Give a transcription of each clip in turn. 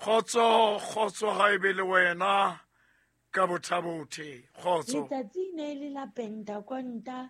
Kgotso, kgotso ga e be le wena ka bothabothe. Kgotso. Letsatsi ne e le la Pentakonta,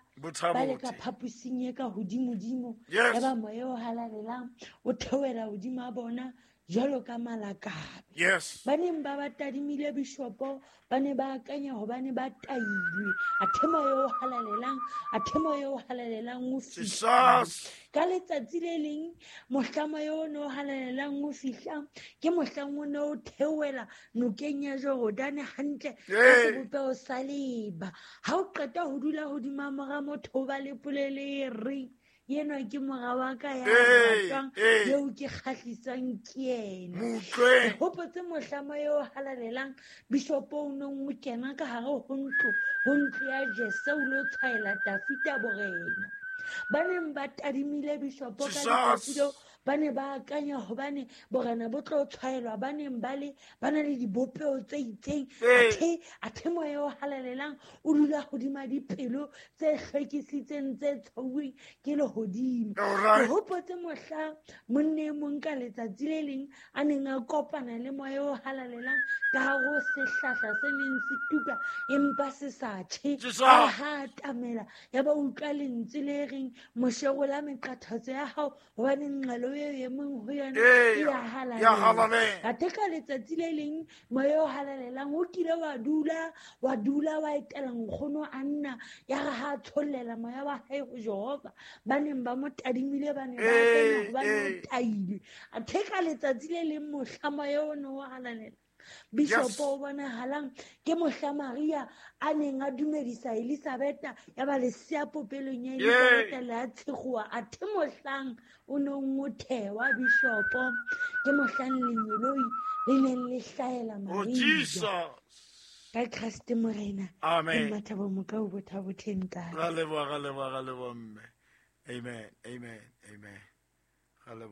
ba le ka Bothabothe. phaposing e ka hodimodimo. Yes. Ya ba moya o halalelang o theohela hodima bona jwalo ka malakabe. Yes. Ba neng ba ba tadimile bishopo ba ne ba akanya hobane ba tailwe, athe moya o halalelang, athe moya o halalelang o fihla. Jesus. Ka letsatsi le leng mohla moya o ne o halalelang o fihla, ke mohlang o ne o theohela nokeng ya Jorodane hantle ka sebopeho sa leba. Ha o qeta ho dula hodima mora motho, o ba le polelo e reng, enwa ke mora wa ka ya ratwang, eo ke kgahliswang ke yena. Mo utlweng. Ke hopotse mohla moya o halalelang bishopo o neng o kena ka hare ho ntlo, ho ntlo ya Jese o lo tshwaela Dafita borena. Ba neng ba tadimile bishopo ka Jesus. letsatsi leo, ba ne ba akanya hobane borena bo tlo tshwaelwa ba neng ba le, ba na le dibopeho tse itseng. Athe moya o halalelang o dula hodima dipelo tse hlwekisitseng, tse tshwauweng ke lehodimo. All right. Ke hopotse mohla monna e mong ka letsatsi le leng a neng a kopana le moya o halalelang ka hare ho sehlahla se neng se tuka empa se sa tjhe. Jesus. A ha atamela, ya ba utlwa lentswe le reng, Moshe, rola meqathatso ya hao hobane nqalo eo e mong ho yona e ya halalela. Ya halalela. Athe ka letsatsi le leng moya o halalelang o kile wa dula, wa dula wa etela nkgono a nna, ya re ha a tshollela moya wa hae ho Jehova, ba neng ba mo tadimile ba ne ba akanya hobane o tailwe. Athe ka letsatsi le leng mohla moya o ne o halalela, bishopo o bonahalang ke mohla Maria a neng a dumedisa Elisabetha, ya ba lesea popelong ya Elisabetha le a tshegoa. Athe mohlang o neng o thewa bishopo, ke mohlang lengeloi le neng le hlahela Oh, Maria. Jesus. Ka Kreste Morena. Amen. Ke Mmathabo Mokau, Bothabothe ntate. Ra leboha, ra leboha, ra leboha mme. Amen, amen, amen. Ra leboha.